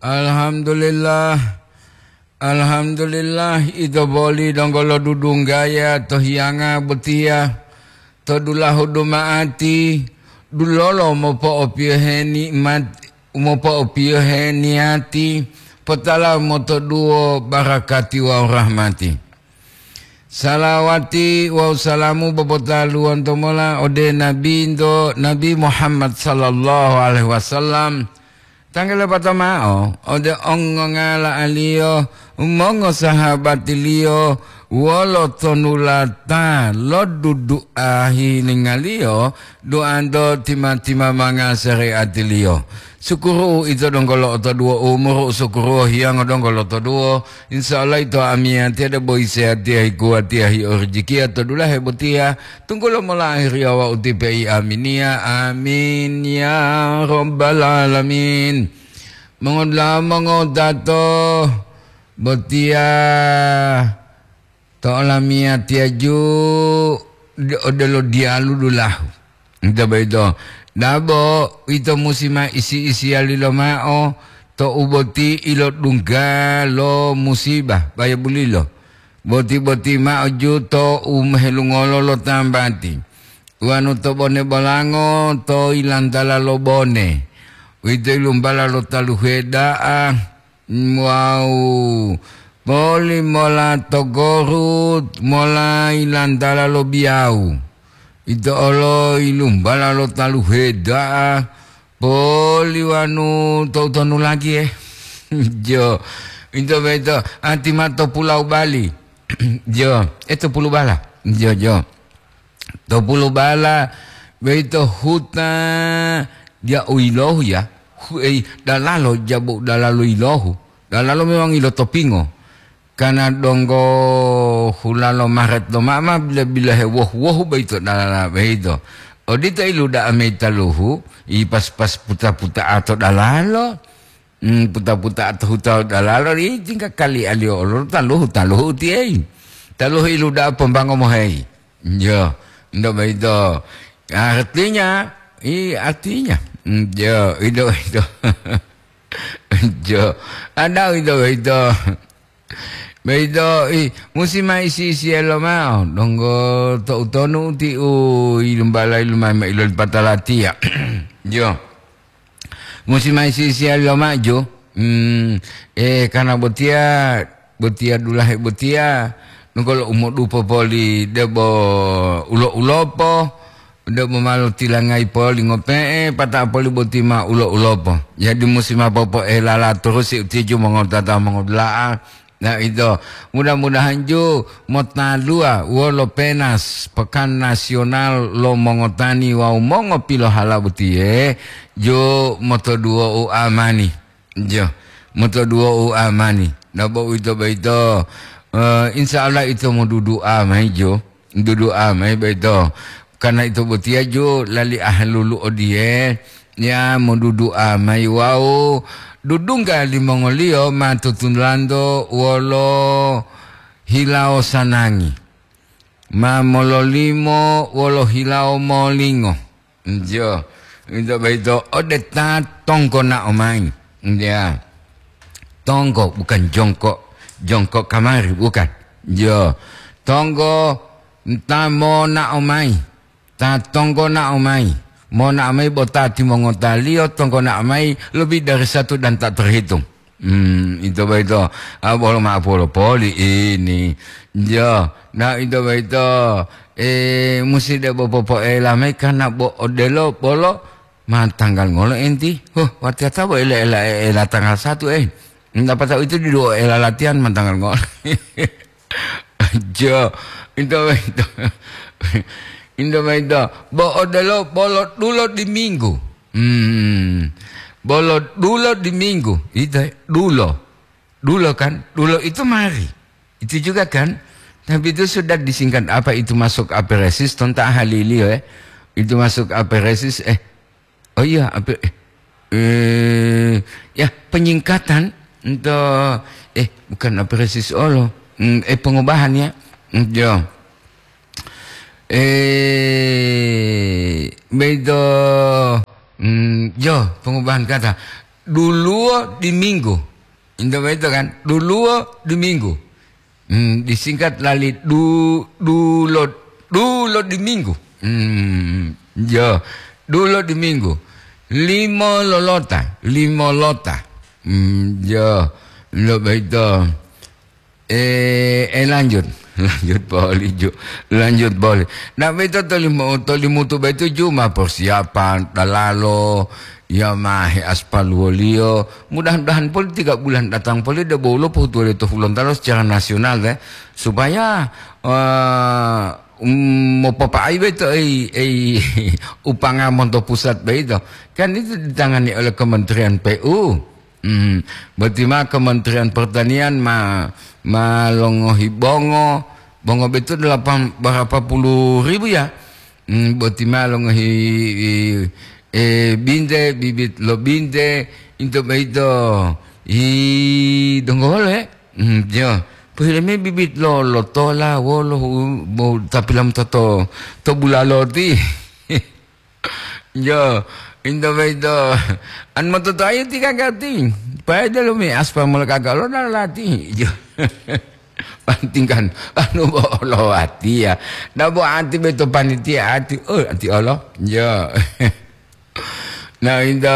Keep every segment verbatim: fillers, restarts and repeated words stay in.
Alhamdulillah. Alhamdulillah, ito boli donggo lodudunggaya to hiyanga botiya, to dulahu duma'ati, dulolo mopo'opiyohe ni'mat-, mopo'opiyohe niyati, potala motoduwo barakati wawu rahmati. Salawati wawu salamu bobotaluwonto mola ode Nabinto, Nabi Muhammad sallallahu alaihi wasallam. Tanggulo pato mao ode ongongala'aliyo, mongosahabatiliyo, wolo tonulata lo dudu'a hilingaliyo, duanto tima-timamanga sareatiliyo. Sukuru ito donggo lo'otoduwo umuru, sukuru hiyango donggo lotoduwo. Insya Allah ito amiyatiya debo isehatiya, hikuwatiya, hiorijikiya to dulahe botiya. Tunggulo molahiriya wawu ti pei aminiya. Amin ya rabbal alamin. Mongodula'a mongotato botiya to olamiyatiya ju de-, odelo diyalu dulahu. Nte boyito, dabo ito musi ma isi-isiyali lomao to u boti ilodungga lo musiba, bayabulilo. Boti-boti mao ju to u mehelungolo lo tambati. Wanu to bone bolango to ilantala lo bone. Uwito ilumbala lo taluhe da'a. Wawu poli mola to Gorut, mola ilantala lo Biyawu. Ito olo ilumbala lo taluhe da'a, poli wanu to'u tonu lagi, eh. Jo, ito boyito, ati ma to Pulau Bali. Jo, eh, to Pulubala. Jo, jo. To Pulubala, boyito huta dia u yilohu ya. Hu-, ei, dalalo, jabo dalalo yilohu. Dalalo memang ilotopingo. Kana donggo hulalo Maret lomama bila-bila hewohu-wohu boyito dalala boyito. Odito iluda'a mayi taluhu, i pas-pas puta-puta'a to dalalo. Hmm, puta-puta'a to huta dalalo, i tingga kali aliyo olo taluhu, taluhu utiyei. Taluhu iluda'a pombango moheyi. Jo, ndo boyito. Artinya, i artinya. Hmm, jo, indo boyito. Jo, ada indo boyito. Boyito, i, musi ma isi-isiya lomao, donggo to utonu uti u ilumbala ilumai ma ilolipata latiya. Jo. Musi ma isi-isiya lomao jo. Hmm, eh, karena botiya, botiya dulahe botiya, nungkolo umodupo poli debo ulo-ulopo, debo malo tilangayi poli ngope'e, pata poli boti ma ulo-ulopo. Jadi musi ma popo'elala turusi utiju mongotata mongodula'a, Nah, ito, mudah-mudahan ju motaluwa wolo penas Pekan Nasional lo Mongotani wawu Mongopilohala botiye, ju motoduwo u amani. Jo, motoduwo u amani. Nah, bo uwito boyito, eh, insya Allah ito modudu'a mayi jo. Dudu'a mayi boyito. Karena ito botiya ju lali ahalulu odiye, ya modudu'a mayi wawu dudungga limongoliyo ma tutulanto wolo hilawo sanangi, ma mololimo wolo hilawo molingo. Jo, ito boyito ode ta tonggo na'o mayi. Ya. Tonggo, bukan jongkok. Jongkok kamari, bukan. Jo. Tonggo ta monao mayi. Ta tonggo nao mayi. Monao mayi bo ta timongotaliyo tonggo nao mayi lebih dari satu dan tak terhitung. Hmm, ito boyito. Ah, bolo ma'apu lo poli ini. Jo. Nah, ito boyito, eh, musi debo popo'ela mayi karena bo odelo bolo Ma tanggal ngolo enti? Huh, watiyata bo ela-ela, ela tanggal satu, eh. Dapata itu didu ela latihan ma tanggal ngolo. Jo, ito, ito. Ito, ito. Bo odelo bolo dulo di minggu. Hmm. Bolo dulo di minggu. Ito, dulo. Dulo kan? Dulo itu mari. Itu juga kan? Tapi itu sudah disingkat apa itu masuk aperesis, tonta ahaliliyo, eh. Itu masuk aperesis, eh. Oh iya, ape-, eh, eh, ya, penyingkatan untuk, eh, bukan aperesis olo. Hmm, eh, pengubahan ya. Hmm, yo. Eh, bedo, hmm, yo, pengubahan kata. Duluwo di minggu. Into boyito kan? Duluwo di minggu. Hmm, disingkat lali du-, dulo, dulo di minggu. Hmm, yo, dulo di minggu. Limo lolota, limo lota. Hmm, yo, lo boyito. Eh, eh, lanjut. Lanjut poli, Ju. Lanjut poli. Nah, boyito tolimu-, tolimutu boyito, Ju, ma persiapan, dalalo, ya ma heaspal woliyo. Mudah-mudahan poli tiga bulan datang poli de bolo pohutuwaliyo to Hulontalo secara nasional, de. Supaya, eh, um, mopopa'ai boyito ei, ei, upanga monto pusat boyito. Kan itu ditangani oleh Kementerian P U. Hmm, boti ma Kementerian Pertanian ma, ma longohi bongo, bongo boyito delapan, berapa puluh ribu ya? Hmm, boti ma longohi, eh, binte, bibit lo binte, into boyito, i, donggo wolo, eh? Hmm, yo. Pohile mayi bibit lo, lo tola, wolo, hu-, bo, tapi lam to, to, to bulalo ti. Yo, into boyito. An mototoayi ti kaka ti. Paedo lo mi aspa mola kaka lo na lati. Yo. Pantingkan, anu bo olo ati ya. Na bo ati boyito panitia ati. Oh, ati olo. Yo. Nah, into.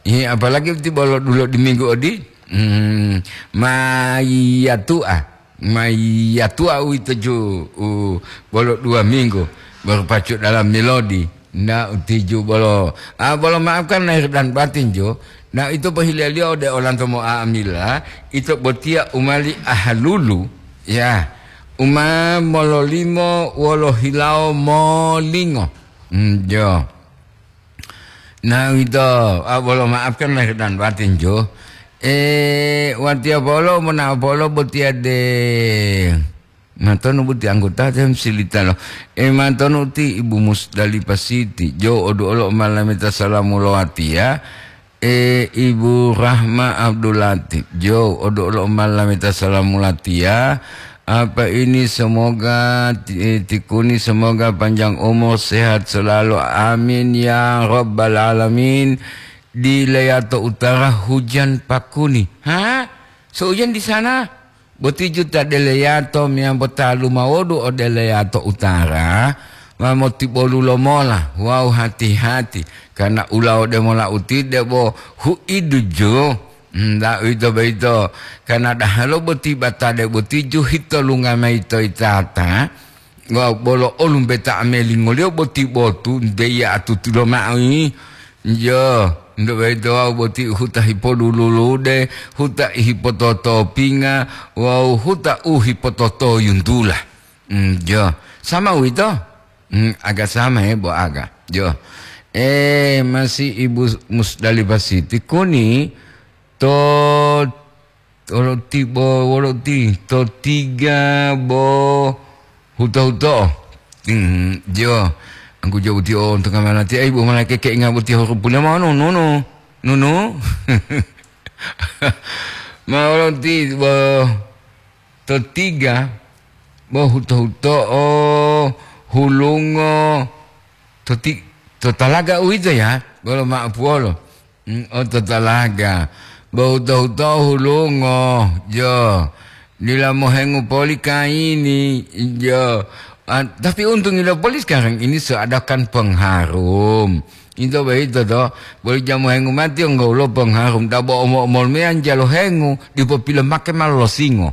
Ih, apalagi ti bolo dulo di minggu odi. Hmm, ma iya tua. Ma iya tua uwito ju, u, bolo dua minggu, baru pacu dalam melodi. Na utiju bolo, ah, bolo maafkan lahir dan batin, jo. Na ito pohileliyo ode olanto mo'amila, ito botiya umali ahalulu, ya. Uma mololimo wolo hilawo molingo. Hmm, jo. Na uwito, ah, bolo maafkan lahir dan batin, jo. Eh, watiya polo, mona polo botiya de. Matonu boti anggota tem silitalo. Eh, matonu ti Ibu Musdalifah Siti. Jo, odu olo malameta salamu lo watiya. Eh, Ibu Rahma Abdul Latif. Jo, odu olo malameta salamu latiya. Apa ini, semoga ti-, eh, tikuni, semoga panjang umur, sehat selalu. Amin ya rabbal alamin. Di Leyato Utara hujan pakuni. Ha? Seujan di sana? Boti juta deleyato meyambo talu mawodu ode Leyato Utara, ma motibolu lomola wawu hati-hati, karna ulawo demola uti debo huidu ju. Nda uwito boyito, karna dahalo boti batade boti ju hitolunga mayi to yitata, wawu bolo olumbeta amelingoliyo boti botu, nte iya atutulo mao yi. Yo, nto boyito wawu boti huta hipodululude, huta hipototopinga, wawu huta u hipototoyuntula. Mm, yo, sama uwito? Mm, aga sama, he, bo aga. Yo. Eh, masi Ibu Musdalifah Siti kuni to Wolo ti bo, wolo ti, to tiga bo huto-huto. Hmm, jo. Angku jo uti o untuk amanati, ai, bo malake ke inga boti huruf pula mau nunu, nunu. Ma wolo ti bo, to tiga bo huto-huto o hulungo, to ti-, to talaga uwito ya, bolo ma'apuwolo. Mm, oto talaga. Bo huto-huto hulungo, jo. Dila mohengu poli kayini, jo. Ah, tapi untungilo poli sekarang ini seadakan pengharum. Ito boyito to, boli jamu hengu mati onggaulo pengharum. Dabo omo-omol meyan jalo hengu, dipo pilo make ma losingo.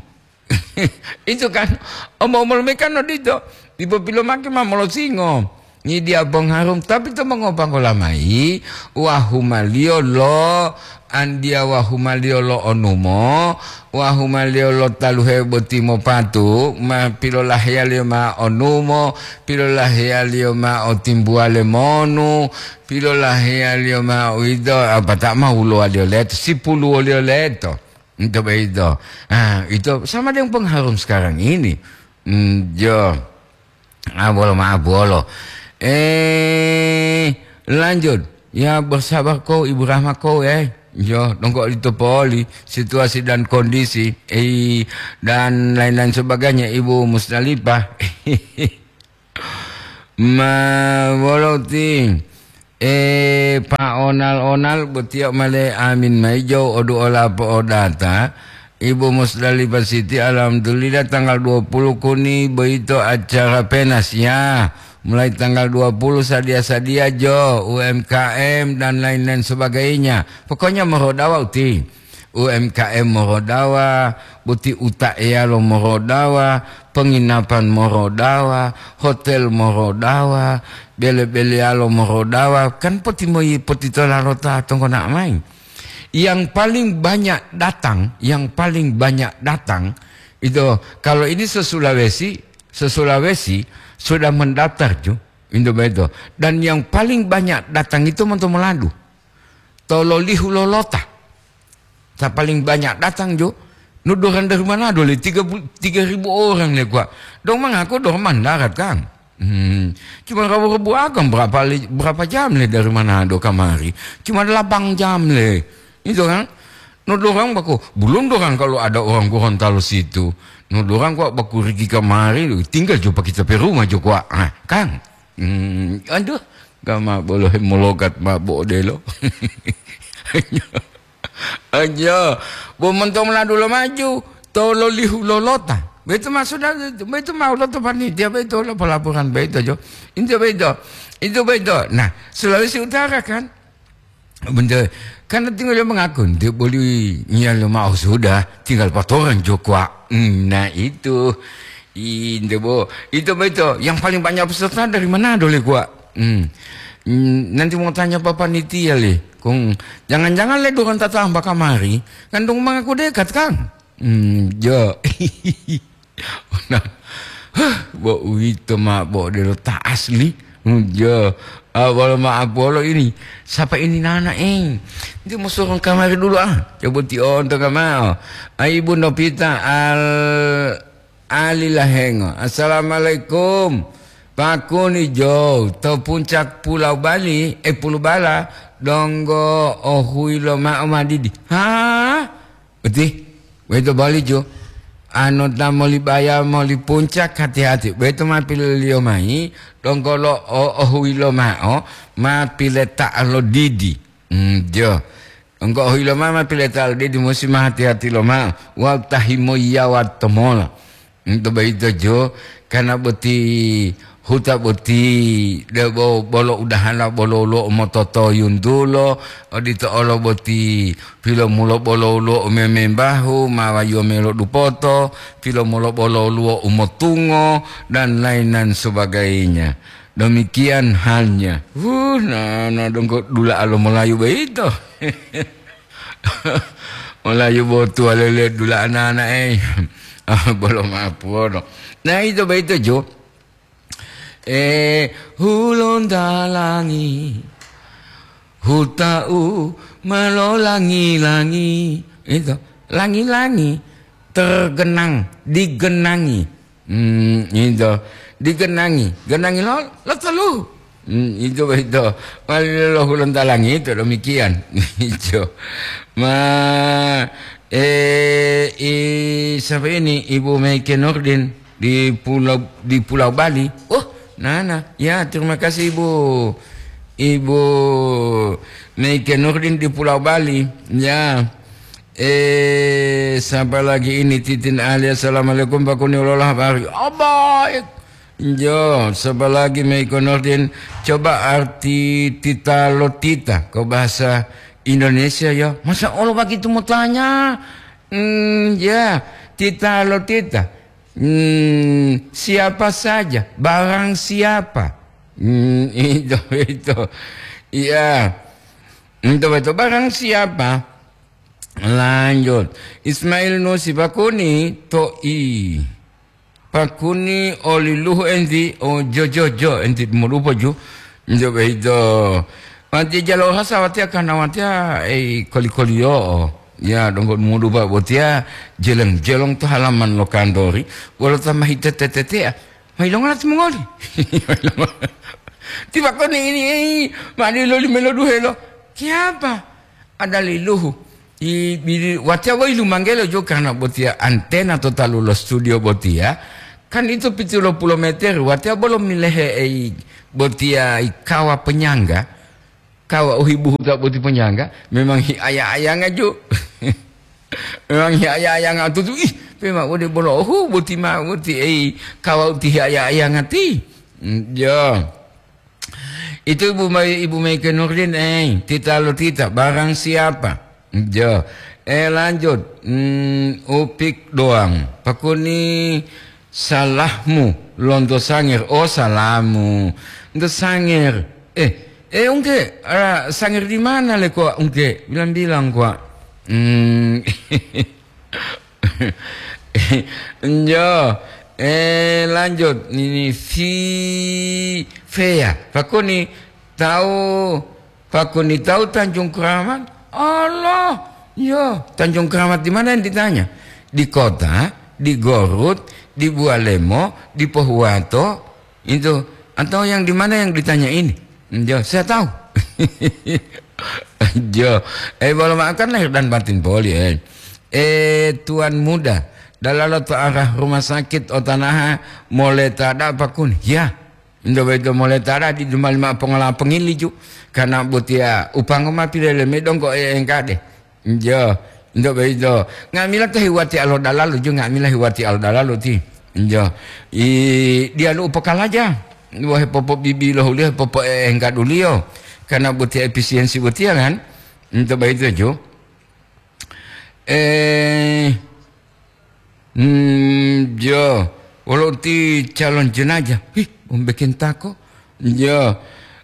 Itu kan, omo-omol me kan odito, dipo pilomake ma molosingo. Ngidiya pongharum, tapi to mongopangola mayi, wahumaliyo lo andiya, wahumaliyo lo onumo, wahumaliyo lo taluhe boti mopatu, ma pilolaheyaliyo ma onumo, pilolaheyaliyo ma otimbuwale monu, pilolaheyaliyo ma uwito, apata ma wulowaliyo leto, sipuluwoliyo leto. Itu begitu. Ah, itu sama dengan pengharum sekarang ini. Hmm, jo. Ah, bolo maaf, bolo. Eh, lanjut. Ya, bersabar kau, Ibu Rahma kau, eh. Jo, dongko itu poli, situasi dan kondisi, eh, dan lain-lain sebagainya, Ibu Musdalifah. Ma, wolo ti. Eh, Pa Onal-onal, botiya male amin mayi jo odu ola po'odata. Ibu Musdalifah Siti, alhamdulillah, tanggal dua puluh kuni boyito acara penas, ya. Mulai tanggal dua puluh sadia-sadia jo, U M K M dan lain-lain sebagainya. Pokoknya morodawa uti. U M K M morodawa, boti uta'eyalo morodawa, penginapan morodawa, hotel morodawa, bele-beleyalo morodawa, kan potimoyi potitola lo ta tonggona'a mayi. Yang paling banyak datang, yang paling banyak datang, itu kalau ini se-Sulawesi, se-Sulawesi sudah mendaftar ju, itu begitu. Dan yang paling banyak datang itu monto Meladu. To lolihu lolota. Ta paling banyak datang jo. No dorang dari Manado le, tiga puluh, tiga ribu orang le kuwa. Dong mangaku dorang mandarat, Kang. Hmm. Cuma rabu-rabu agang berapa le, berapa jam le dari Manado kamari? Cuma delapan jam le. Itu kan. No dorang baku, belum dorang kalau ada orang Gorontalo situ. No dorang kok baku rigi kamari, tinggal jo pa kita pe rumah jo kuwa. Ah, Kang. Hmm, aduh, gama bolo hemologat mabo odelo. Aja, bo monto Meladu lo maju, to lolihu lolota. Beto ma sudah, beto ma lota panitia, beto lo pelaporan beto jo. Itu beto, itu beto. Nah, Sulawesi Utara kan, bener, karena tinggal dia mengaku, dia boleh nyalo mau sudah, tinggal patoran jo kuwa. Hmm, nah itu, itu bo, itu beto. Yang paling banyak peserta dari Manado le kuwa. Hmm. Hmm, nanti mau tanya Bapak Nitia le. Kong, jangan-jangan le dorang tatamba kamari, kan dong mangaku dekat, Kang? Hmm, jo. Nah, huh, bo uwito ma bo odelo ta asli. Hmm, jo. Ah, wolo maaf wolo ini. Siapa ini nana, eh? Dia mau suruh kamari dulu, ah. Coba tionto kamao. Ah, Ibu Novita Al-, Ali Lahengo. Assalamualaikum. Pakuni jo to puncak Pulau Bali, eh, Pulau Bala, donggo ohuyi lo ma'o madidi. Hah? Uti, weto boli ju. Ano ta moli baya moli puncak, hati-hati. Weto ma piloliyo mayi, donggo lo o-, ohuyi lo ma'o, ma pileta lo didi. Hmm, jo. Donggo ohuyi lo ma'o, ma pileta lo didi, musi ma hati-hati lo ma'o. Wawu ta himoyiyawa to mola. Ento boyito jo, karena boti huta boti, debo bolo udahala bolo woluwo u mototoyuntulo, odito olo boti pilomulo bolo woluwo u memembahu, ma wayuwa melo dupoto, pilomulo bolo woluwo u motungo, dan lain-lain sebagainya. Demikian halnya. Huh, na, na donggo dula'a lo Melayu boyito. Melayu botuwa lele dula'a nana, eh. Ah, bolo mapuono. Nah, itu begitu, Jo. Eh, hulontalangi, huta'u melolangi-langi. Itu, langi-langi, tergenang, digenangi. Hmm, itu. Digenangi. Genangi lo, lo telu. Hmm, itu, itu. Wali lo hulontalangi itu demikian. Itu. Ma, eh, i, siapa ini? Ibu Meike Nurdin di Pulau, di Pulau Bali. Oh, nana. Ya, terima kasih, Ibu. Ibu Meike Nurdin di Pulau Bali. Ya. Eh, sapa lagi ini? Titin Ali, assalamualaikum, Pak Kuni, ulola habari. Oh, baik. Jo, sapa lagi, Meiko Nurdin? Coba arti tita lo tita ke bahasa Indonesia, ya. Masa Allah begitu mau tanya? Hmm, ya, tita lo tita. Hmm, siapa saja, barang siapa. Hmm, itu, itu. Iya. Itu, itu, barang siapa. Lanjut. Ismail Nusi Pakuni to'i. Pakuni oli luhu enti o jojojo enti modupo ju. Njo behido. Mati jalo hasa watia kana watia, eh, koli-koliyo. Ya, donggo mudupa botia jeleng-jeleng to halaman lo kantori. Wolo tamahi tete-tetea. Mailongola timongoli. Tiba koni ini, eh, mani loli melo duhelo. Kiapa? Ada liluhu. I, bili, watia woi lumanggelo jo karena botia antena to talu lo studio botia. Kan itu pitulo pulo meter, watia bolo milehe ei botia i kawa penyangga. Kawa uhibuhu ta boti ponyangga, memang hi aya-ayanga jo. Memang hi aya-ayanga tutu, ih, pema wode bolohu boti ma boti, ei, kawa uti hi aya-ayanga ti. Mm, jo. Itu Ibu Mai, Ibu Maike Nurdin, eh, tita lo tita, barang siapa? Jo. Eh, lanjut. Hmm, upik doang. Pakuni salahmu lonto Sanger. Oh, salamu. Nto Sanger. Eh, eh, ungke, ah, Sanger di mana le kok ungke? Bilang-bilang kok. Hmm. Jo. Eh, lanjut. Ini si Fea. Pakuni tahu Pakuni tahu Tanjung Keramat? Allah, yo, Tanjung Keramat di mana yang ditanya? Di kota, di Gorut, di Bualemo, di Pohuwato, itu. Atau yang di mana yang ditanya ini? Yo, saya tahu. Jo, eh, bolo makan lahir dan batin poli, eh. Eh, Tuan Muda, dalalo to arah rumah sakit Otanaha, mole tada pakun. Ya, Ndo boyito mole tala di duma lima pongola pongiliju, karena botiya upango ma pilele medongko e engkade. Njo, ndo boyito nga'amila ta hiwati alo dalalu ju, nga'amila hiwati alo dalalu ti. Njo, i diyalu upokalaja, wohe popo bibi lohuliyo, popo e engkaduliyo, karena botiya efisiensi botiya kan. Nto boyito ju. Eh, Hmm, jo, wolo uti calon jenajah. Hih, umbekintako. Jo,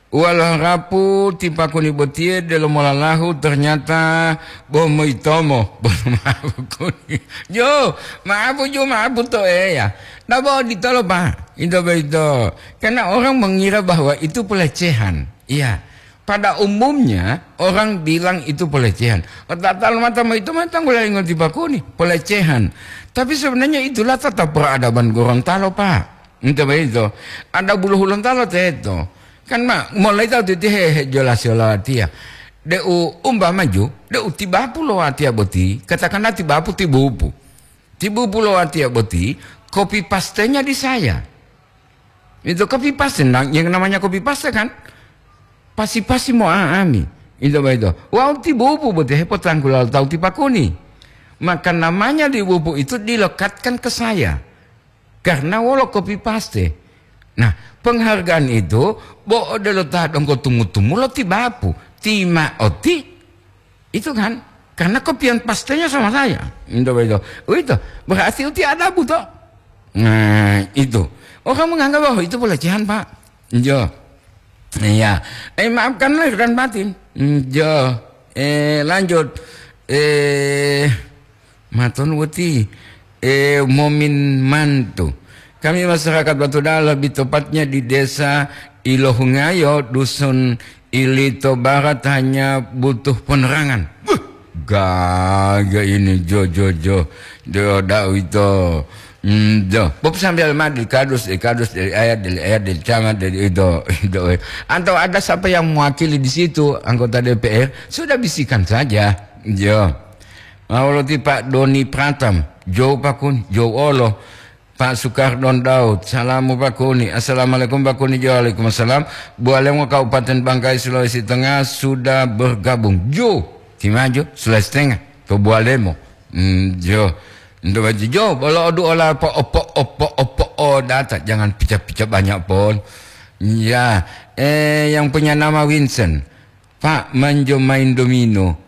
wolo harapu ti pakuni botiye delo molalahu ternyata bo moitomo. Bo maapu kuni. Jo, maapu jo, maapu to eya. Nabo ditolo, Pak. Itu begitu. Karena orang mengira bahwa itu pelecehan. Iya. Pada umumnya, orang bilang itu pelecehan. Otatalo mata moyito ma tanggula lingo ti pakuni, pelecehan. Tapi sebenarnya itulah tata peradaban Gorontalo, Pak. Ente boyito, ada bulu Hulontalo teto. Kan ma, mulai tahu titi he, he jelas yo lawatiya. De'u umpama ju, de'u tibapu lo watiya boti, katakanlah tibapu tibupu. Tibupu lo watiya boti, copy paste-nya di saya. Itu copy paste, nah, yang namanya copy paste kan? Pasi-pasi mo'a'ami. Itu begitu. Wau tibupu boti hepotangkula tahu ti pakuni. Maka namanya tibupu itu dilekatkan ke saya. Karena wolo copy paste. Nah, penghargaan itu bo odelo ta donggo tumu-tumu lo tibapu. Tima oti Itu kan, karena kopian pastenya sama saya. Itu, itu. Oh, itu. Berarti uti ada buto. Nah, itu. Orang menganggap bahwa itu pelecehan, Pak. Jo. Iya. Eh, maafkan lahir dan batin. Hmm, jo. Eh, lanjut. Eh, maton weti. Eh, Momin Mantu. Kami masyarakat Batu Dalam, lebih tepatnya di Desa Ilohungayo, Dusun Ilito Barat, hanya butuh penerangan. Buh, gaga ini, jo, jo, jo. Jo, dau itu. Hmm, jo. Bob sambil mandi, kadus, eh, kadus dari ayat, dari ayat, dari camat, dari itu, itu. Atau ada siapa yang mewakili di situ, anggota D P R, sudah bisikan saja. Jo. Mau roti Pak Doni Pratam, jo pakun, jo olo. Pak Sukardon Daud, salamu Pak Kuni. Assalamualaikum Pak Kuni, jo, waalaikumsalam. Bualemo Kabupaten Bangkai, Sulawesi Tengah sudah bergabung. Jo, timaju Sulawesi Tengah, to Bualemo. Hmm, jo. Ndo baju jo, bolo odu ola po opo, opo, opo, o data, jangan pica-pica banyak pon. Ya, eh, yang punya nama Vincent. Pak, manjo main domino.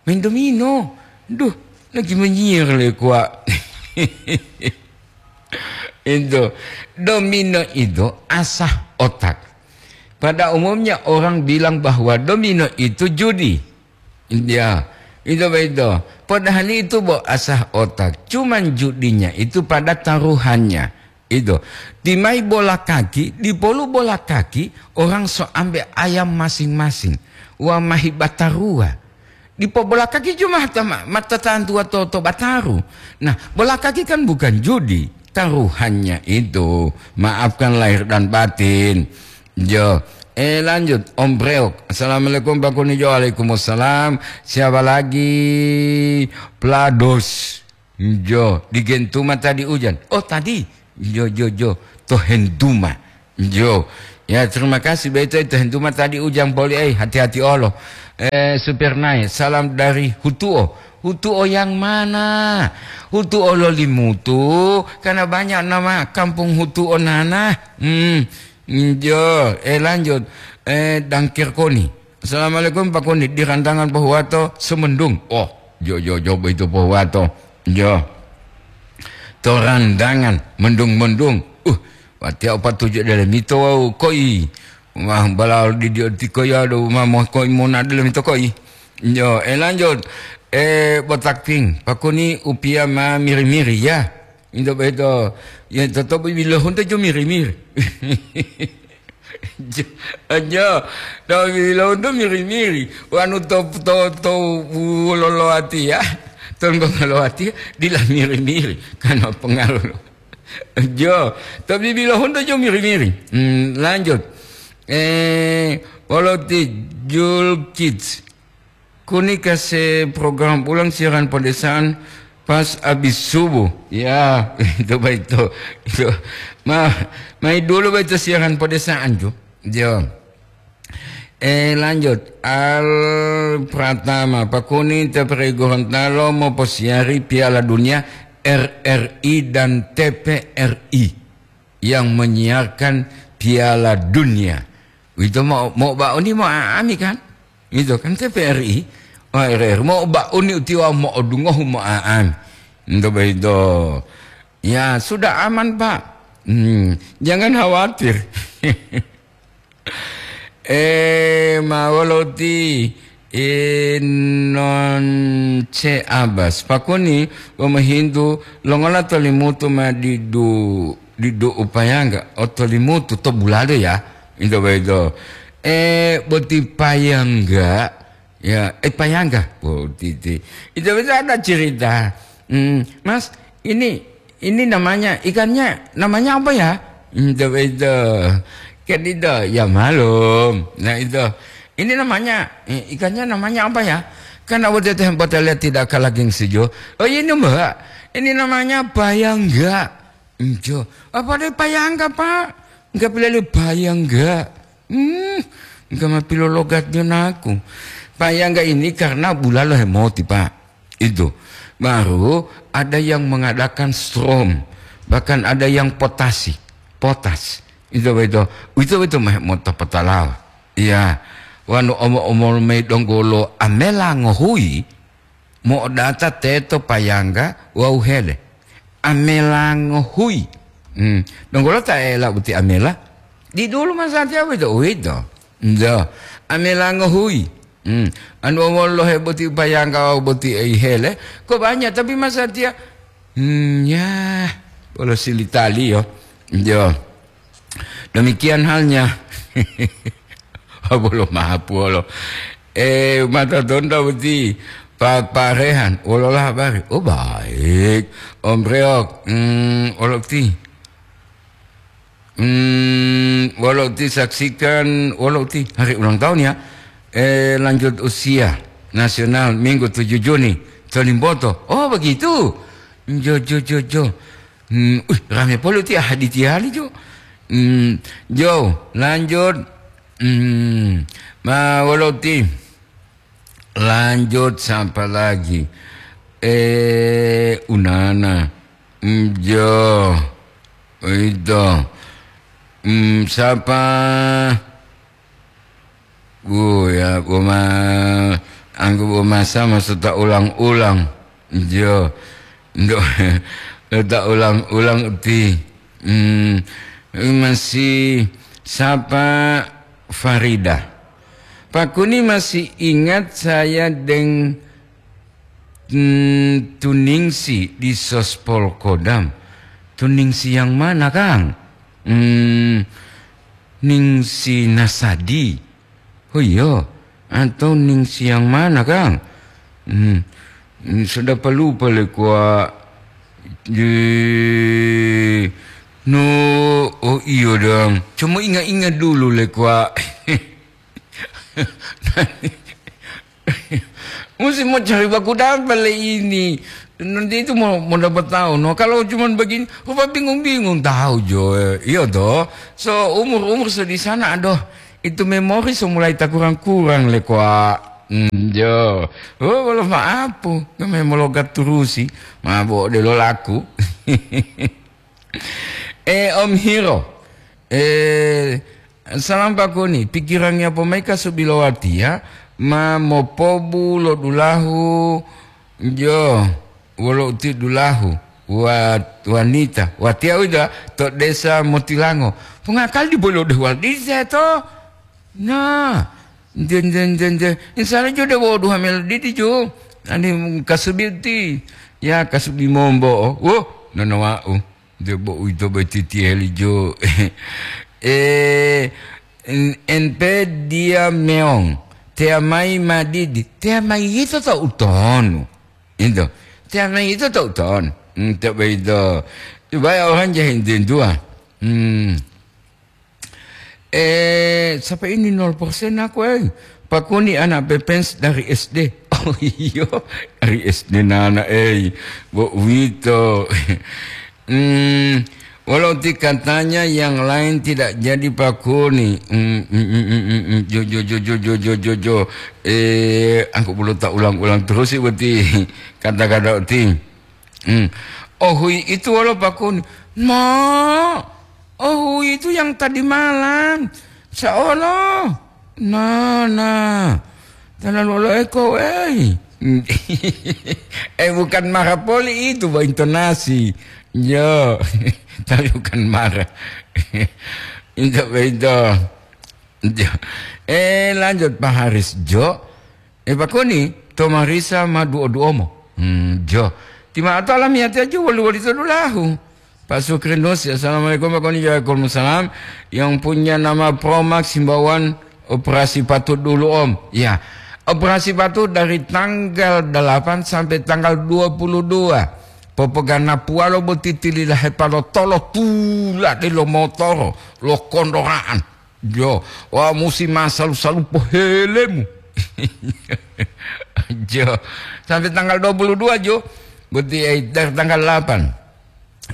Main domino. Duh, lagi menyihir le kuak. Itu, domino itu asah otak. Pada umumnya orang bilang bahwa domino itu judi. Ya, itu begitu. Padahal itu bo asah otak. Cuman judinya itu pada taruhannya. Itu. Timai bola kaki, dipolu bola kaki, orang so ambe ayam masing-masing. Wa mahi batarua. Dipo bola kaki cuma tama, mata tantua to, to bataru. Nah, bola kaki kan bukan judi. Taruhannya itu. Maafkan lahir dan batin. Jo. Eh, lanjut. Om Breok. Assalamualaikum, Pak Kuni. Jo, waalaikumsalam. Siapa lagi? Plados. Jo, di Gentuma tadi ujan. Oh, tadi. Jo, jo, jo. To Henduma. Jo. Ya, terima kasih. Beto itu hentu mah tadi Ujang Poli, eh, hati-hati olo. Eh, Supir Nai, salam dari Hutuo. Hutuo yang mana? Hutuo lo Limutu, karena banyak nama kampung Hutuo nana. Hmm, jo, eh, lanjut. Eh, Dangkir Koni. Assalamualaikum Pak Koni, di Randangan Pohuwato, Sumendung. Oh, jo, jo, jo, itu Pohuwato. Jo. To Randangan, mendung-mendung. Uh, watiya opa tuju dele mito wau koi. Wah, balao di dio tiko ya do ma mo koi mona dele mito koi. Yo, eh, lanjut. Eh, botak ping, Pak Koni upia ma miri-miri ya. Into beto. Ya, tetap bilohunto jo miri-miri. Jo, jo, to bilohunto miri-miri. Wanu to, to, to, loloati ya. Tonggo loloati ya, dila miri-miri. Karena pengaruh. Jo, tapi bila honda jo miri-miri. Hmm, lanjut. Eh, wolo ti Jul Kids. Kuni kase program ulang siaran pedesaan pas habis subuh. Ya, itu baik itu. Itu. Ma, mai dulu baik itu siaran pedesaan, Jo. Jo. Eh, lanjut. Al Pratama, Pak Kuni, T P R I Gorontalo moposiari Piala Dunia R R I dan T P R I yang menyiarkan Piala Dunia. Itu mau, mau bauni mau aami kan? Itu kan T P R I. Oh, R R I. Mau bauni utiwa mau dungohu mau aami. Itu begitu. Ya, sudah aman, Pak. Hmm, jangan khawatir. Eh, ma wolo ti, eh, non ce Abbas. Pakuni, wamahintu, longola tolimutu ma didu, didu upayangga, o tolimutu to bulado ya, into boyito. Eh, boti payangga, ya, eh, payangga, boti ti. Itu bisa ada cerita. Hmm, Mas, ini Ini namanya, ikannya namanya apa ya? Itu, itu. Kan itu, ya malum. Nah, itu. Ini namanya, eh, ikannya namanya apa ya? Kan awak teteh buat lihat tidak kalah gengsi jo. Oh, ini, Mbak. Ini namanya bayangga. Enjo. Apa ada bayangga, Pak? Enggak boleh bayangga. Hmm, enggak mapilologatnya naku. Bayangga ini karena bulalo hemoti, Pak. Itu. Baru ada yang mengadakan strom, bahkan ada yang potasi, potas. Itu betul. Itu betul meh mota potalawa. Iya. Wanu omo-omol mei donggolo amela ngohui, mo'odata teto payangga wawu hele. Amela ngohui. Hmm. Donggolo ta ela boti amela? Di dulu masatiya uwito, uwito. Njo. Amela ngohui. Hmm. Anu wolo he boti payangga wawu boti ei hele. Kok banyak, tapi masatiya. Hmm, ya. Bolo silitali yo. Njo. Demikian halnya. Bolo mahapuolo. Eh, mata tonda boti. Pak, Pak Rehan, wolola habari? Oh, baik. Om Reok, hmm, wolo ti. Hmm, wolo ti saksikan, wolo ti hari ulang tahun ya. Eh, lanjut usia nasional Minggu tujuh Juni, Tolimboto. Oh, begitu. Jo, jo, jo, jo. Hmm, uh, rame polo ti hadi tiali jo. Hmm, jo, lanjut. Hmm, ma wolo ti. Lanjut sapa lagi? Eh, unana. Mm, jo. Itu. Mm, sapa? Bu ya, buma, anggu bumasa maksud tak ulang-ulang. Jo. Ndo, tak ulang-ulang ti. Hmm, masih sapa Farida? Pak Kuni masih ingat saya deng, hmm, Tuningsi di Sospol Kodam. Tuningsi yang mana, Kang? Hmm, Ningsi Nasadi. Oh iya, atau Ningsi yang mana, Kang? Hmm, hmm, sudah pelupa le kwa. Di, no, oh iya dong. Cuma ingat-ingat dulu le kwa. Mesti mau cari baku dapat le ini. Nanti itu mau, mau dapat tahu. No, kalau cuma begini, rupa bingung-bingung tahu jo. Iya toh. So, umur-umur so di sana, aduh, itu memori so mulai tak kurang-kurang le, kwa. Hmm, jo. Oh, kalau maaf, kami mau logat terusi. Mabo de lo laku. Eh, Om Hiro. Eh, salam Pak Kuni. Pikirannya pemaika subilowatiya ma mopobu lo dulahu, jo, wolo uti dulahu wa-, wanita. Watiya uwito to desa Motilango. Pungakali bolo de wal dise to. Nah, nje, nje, nje, nje. Insya Allah jo de wo duha melo didi jo. Ani kasubi uti. Ya, kasubi mombo. Wo, nono wau. Debo uwito boti tiheli jo. Eh, en-, N P dia meong. Tea mai madidi. Tea mai yito to utonu. Into. Tea mai yito to utonu. Into beito. Supaya orang jahe intintua. Hmm. Eh, siapa ini nol persen aku, eh? Pak Kuni anak pepens dari S D. Oh, iya, dari S D nana, eh. Bo uwito. Hmm, walau ti katanya yang lain tidak jadi Pak Kuni. Hmm, hmm, hmm, hmm, hmm, hmm. Jo, jo, jo, jo, jo, jo, jo, jo. Eh, aku perlu tak ulang-ulang terus sih, berarti kata-kata ti. Hmm. Oh, hui itu wolo Pak Kuni. Ma, oh, hui itu yang tadi malam. Saolo. Nah, nah. Terlalu lo eko, eh. Eh, bukan marah poli itu, Pak, intonasi. Yo, tapi bukan marah. Itu, itu. Jo. Eh, lanjut, Pak Haris. Jo. Eh, Pak Kuni, to marisa ma duo-duomo. Hmm, jo. Tima atau alamiyati aja wali-wali to dulahu. Pak Sukrinus, assalamualaikum Pak Kuni, waalaikumsalam. Yang punya nama Promax himbauan operasi patut dulu, Om. Ya, operasi patut dari tanggal delapan sampai tanggal dua puluh dua. Popogana puwalo boti tilila hepalo tolo tula de lo motoro, lo kondoraan. Jo, wa musi masalu-salu pohelemu. Jo, sampai tanggal dua puluh dua, Jo. Berarti, eh, dari tanggal delapan.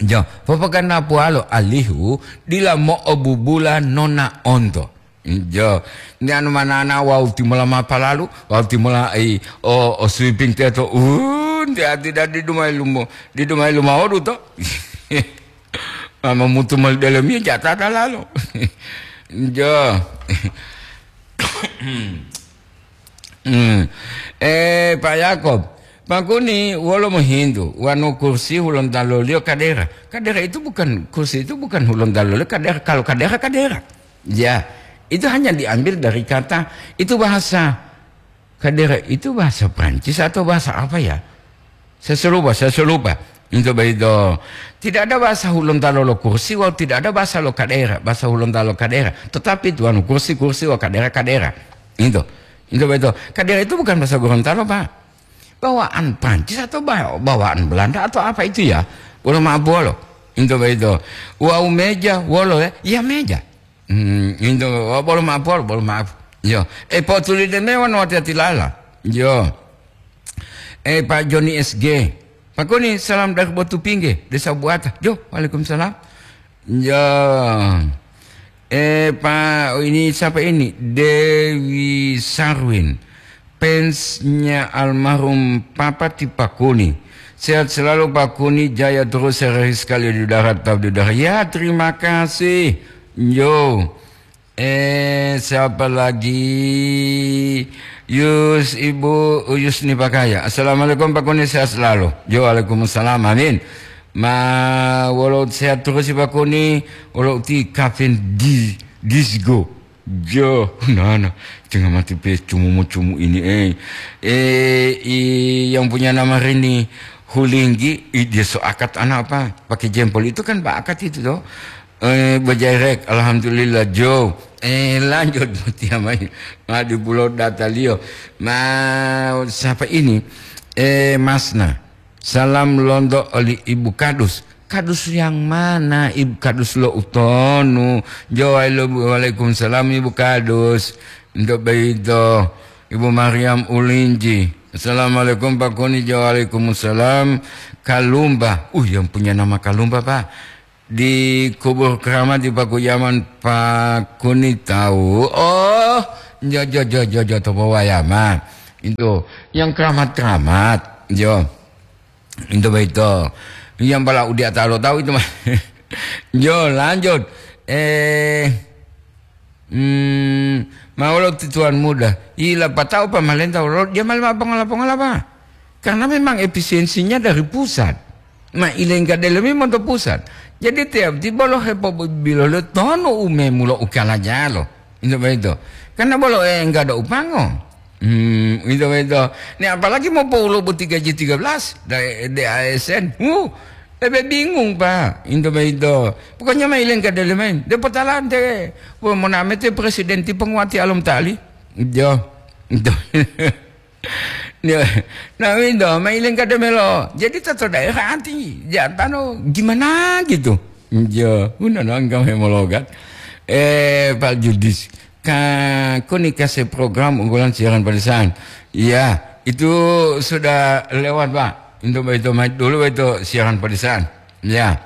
Jo, popogana puwalo alihu dila mo'obubula nona onto. Jo, ni anu manana wau timola mapalalu, wau timola, eh, o, o sweeping teto. Uh, nti ati dadi dumai lumo, di dumai lumawodu to. Mama mutu mali dalam iya jatata lalo. Jo. Hmm. Eh, Pak Yakob, Pak Kuni wolo mohintu, wanu kursi Hulontalo liyo kadera. Kadera itu bukan, kursi itu bukan Hulontalo liyo kadera. Kalau kadera, kadera. Ya, itu hanya diambil dari kata, itu bahasa. Kadera itu bahasa Prancis atau bahasa apa ya? Saya selupa, saya selupa. Itu begitu. Tidak ada bahasa Hulontalo lo kursi, walau tidak ada bahasa lo kadera, bahasa Hulontalo kadera. Tetapi tuan kursi, kursi, wa kadera, kadera. Itu. Itu begitu. Kadera itu bukan bahasa Gorontalo, Pak. Bawaan Prancis atau ba-, bawaan Belanda atau apa itu ya? Wolo maaf wolo. Itu begitu. Wau meja, wolo ya? Ya meja. Hmm, itu, oh, bolo maaf, bolo, bolo maaf. Yo, eh, potuli de mewan wati-wati lala. Yo. Eh, Pak Joni S G. Pak Kuni, salam dari Batu Pingge, Desa Buata. Jo, waalaikumsalam. Yo. Eh, Pak, oh, ini siapa ini? Dewi Sarwin. Fansnya almarhum Papa ti Pak Kuni. Sehat selalu Pak Kuni, jaya terus sehari sekali di udara, tetap di udara. Ya, terima kasih. Yo. Eh, siapa lagi? Yus, Ibu Yusni Pakaya. Assalamualaikum Pak Kuni, sehat selalu. Yo, waalaikumsalam. Amin. Ma, wolo sehat terus Pak Kuni, wolo ti kafin di disgo. Jo, nana, tengah mati pe cumumu-cumu ini, eh. Eh, i, yang punya nama Rini Hulinggi, i, dia so akad anak apa? Pakai jempol itu kan Pak akad itu toh. Eh, bejerek, alhamdulillah, Jo. Eh, lanjut, Mutia Mayu. Madu Pulau Datalio. Ma, siapa ini? Eh, Masna. Salam lonto oli Ibu Kadus. Kadus yang mana, Ibu Kadus lo utonu? Jawai lo, waalaikumsalam, Ibu Kadus. Untuk begitu, Ibu Mariam Ulinji. Assalamualaikum Pak Kuni, jo waalaikumsalam. Kalumba, uh, yang punya nama Kalumba, Pak. Di kubur keramat di Pakuyaman Pak Kuni tahu. Oh, jo, jo, jo, jo, jo, to Pakuyaman. Itu yang keramat-keramat, jo. Itu begitu. Yang bala udia tahu tahu itu mah. Jo, lanjut. Eh, Hmm, ma wolo ti tuan muda. Ila pata'o pamalenta wolo dia mali ma pongola-pongola, Pak. Karena memang efisiensinya dari pusat. Ma ilengga delemi monto pusat. Jadi tiap ti bolo hepobilo le tono umemu lo ukalajalo. Itu begitu. Karena bolo enggak ada upango. Hmm, itu begitu. Ini apalagi mau paulo boti gaji tiga belas dari D A S N. Uh, ebe bingung, Pak. Itu begitu. Pokoknya ma ilengga delemi. Depo talante. Wah, moname te presiden ti penguati alom tali. Jo. Ya, nah, winto, ma ilengga demelo. Jadi, tato daerah anti, jantano gimana gitu. Jo, udah nonton hemologat. Eh, Pak Judis, ka, kuni kasih program unggulan siaran pedesaan. Iya, itu sudah lewat, Pak. Untuk itu, dulu itu siaran pedesaan. Ya.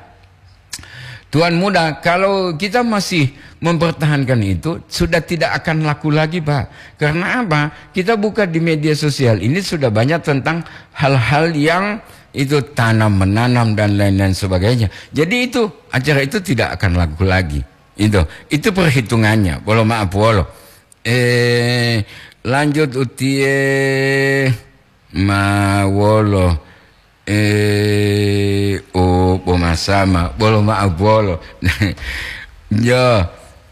Tuan muda, kalau kita masih mempertahankan itu, sudah tidak akan laku lagi, Pak. Karena apa? Kita buka di media sosial ini sudah banyak tentang hal-hal yang itu tanam menanam dan lain-lain sebagainya. Jadi itu acara itu tidak akan laku lagi. Itu itu perhitungannya. Bolo maaf wolo. Eh, lanjut utie ma wolo. Eh, oh, pomasama, bolo ma'o bolo. Jo,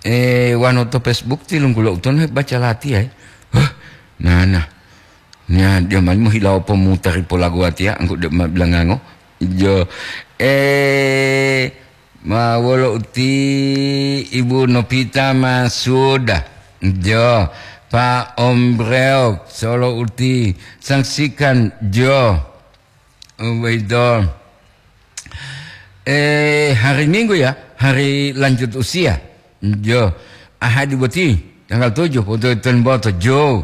eh, wano to Facebook tilunggulo utonu baca latiya, eh. Huh, nana. Nya, dia malimu hilawo pomutari polagu watiya, angku de ma bilangango. Jo, eh, ma wolo uti Ibu Nopita Masuda. Jo, Pak Om Breok, solo uti, saksikan, jo. Uwito. Eh, hari Minggu ya, hari lanjut usia. Jo, Ahadi boti, tanggal tujuh, foto Tuan Boto, Jo.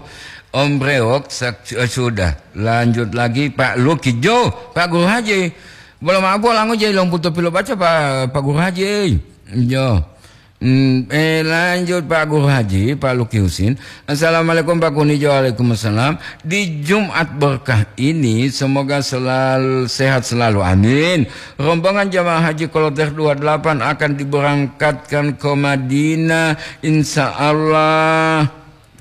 Om Brewok, sak-, eh, sudah. Lanjut lagi, Pak Luki, Jo, Pak Guru Haji. Belum apa, lango je, lomputo pilo baca, Pak, Pak Guru Haji. Jo. Hmm, eh, lanjut, Pak Guru Haji, Pak Luki Husin. Assalamualaikum, Pak Kunijo. Waalaikumsalam. Di Jumat berkah ini, semoga selalu sehat selalu. Amin. Rombongan jamaah haji kloter dua delapan akan diberangkatkan ke Madinah, insya Allah.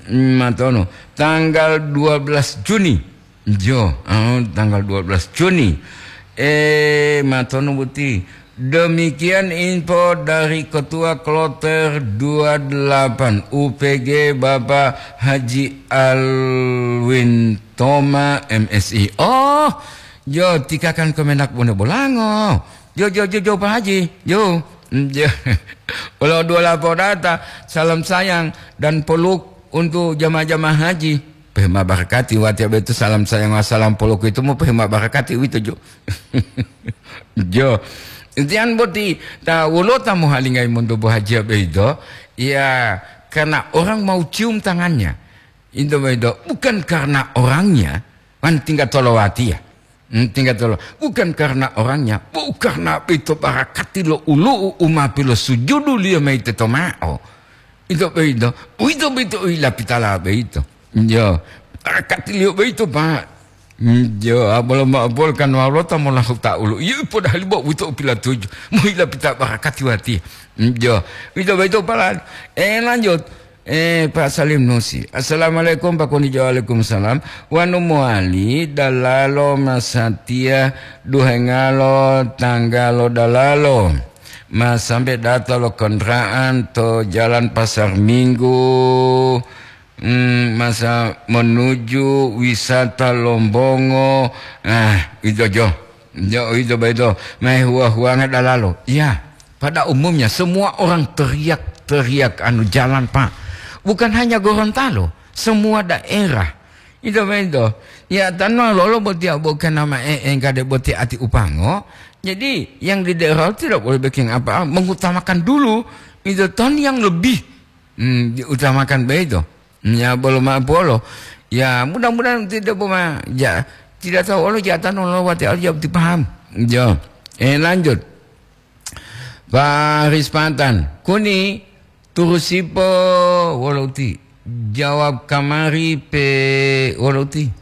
Hmm, matono. Tanggal dua belas Juni. Jo, oh, tanggal dua belas Juni. Eh, matono boti. Demikian info dari Ketua Kloter dua delapan U P G, Bapak Haji Alwin Toma, M Si. Oh, jo, tikakan Kemenak Bone Bolango. Jo, jo, jo, jo, Pak Haji. Jo, jo. Walau dua lapor data, salam sayang dan peluk untuk jamaah-jamaah haji. Pehema barakati watiya boyito salam sayang, salam poloko itu mu pehema barakati uwito jo. Jo. Tiyan boti ta wolota mohalingayi monto bohajiya boyito, ya, karena orang mau cium tangannya. Itu boyito bukan karena orangnya, man tinggal tolowatiya. Hmm, tinggal tolo. Bukan karena orangnya, bu-, karena boyito barakati lo ulu'u u ma pilosujuduliyo mayi teto ma'o. Ito boyito, uwito boyito u yilapitala boyito. Jo, barakatiliyo boyito, Pak. Hmm, jo, abolo ma'o bolo kan walota molahu ta'ulu. Iyo, podahali bo uwito u pilatuju. Mo yilapita barakati watiya. Hmm, jo, uwito boyito, Pak. Eh, lanjut. Eh, Pak Salim Nusi. Assalamualaikum, Pak Kunijo. Waalaikumsalam. Wanu mowali dalalo masatiya duhengalo tanggalo dalalo. Ma sambe data lo kondra'an to Jalan Pasar Minggu, mm, masa menuju wisata Lombongo. Ah, ito jo. Jo, ito ba ito. Mai huwa-huwanga dalalo. Iya. Pada umumnya semua orang teriak-teriak anu jalan, Pak. Bukan hanya Gorontalo, semua daerah. Ito beto. Ya, tanwa lolo boti abo kana ma e-, engkade boti ati upango. Jadi, yang di daerah tidak boleh bikin apa, mengutamakan dulu itu ton yang lebih, hmm, diutamakan begitu. Ya, bolo ma polo. Ya, mudah-mudahan tidak poma, ya, tidak tahu Allah jatano lo wati Allah jawab ti paham. Yo. Eh, lanjut. Pak Rispatan, kuni turusipo wolo uti. Jawab kamari pe wolo uti.